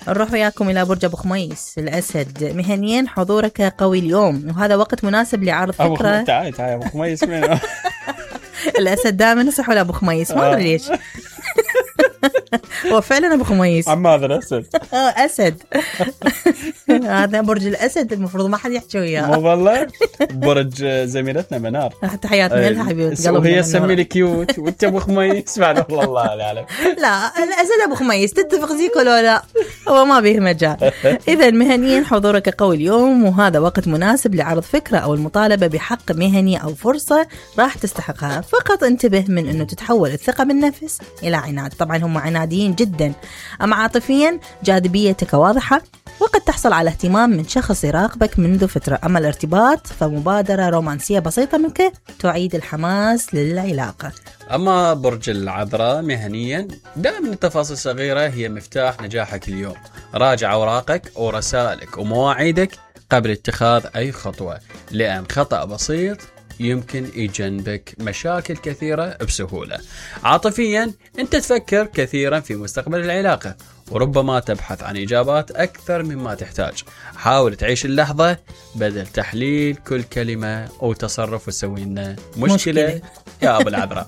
نروح وياكم إلى برج أبو خميس الأسد. مهنيا حضورك قوي اليوم، وهذا وقت مناسب لعرض فكرة. تعال أبو خميس منو؟ الأسد دائما نصح ولا أبو خميس، ما أدري ليش. هو فعلا أبو خميس. عماد الأسد. أسد. هذا برج الأسد، المفروض ما حد يحكي وياه. مو والله. برج زميلتنا منار. تحياتنا لها حبيبتي. وهي تسمي لي كيوت وأنت أبو خميس بعد. والله لا أعلم. لا الأسد أبو خميس، تتفق زيك ولا لا؟ هو ما بيه مجال. إذا مهنيا حضورك قوي اليوم، وهذا وقت مناسب لعرض فكرة أو المطالبة بحق مهني أو فرصة راح تستحقها. فقط انتبه من أنه تتحول الثقة بالنفس إلى عناد. طبعا هم عناديين جدا. أما عاطفيا جاذبيتك واضحة، وقد تحصل على اهتمام من شخص يراقبك منذ فترة. أما الارتباط فمبادرة رومانسية بسيطة منك تعيد الحماس للعلاقة. أما برج العذراء مهنيا دائما التفاصيل الصغيرة هي مفتاح نجاحك اليوم. راجع أوراقك ورسائلك ومواعيدك قبل اتخاذ أي خطوة، لأن خطأ بسيط يمكن يجنبك مشاكل كثيرة بسهولة. عاطفيا أنت تفكر كثيرا في مستقبل العلاقة، وربما تبحث عن إجابات أكثر مما تحتاج. حاول تعيش اللحظة بدل تحليل كل كلمة أو تصرف وتسوي لنا مشكلة يا أبو العذراء.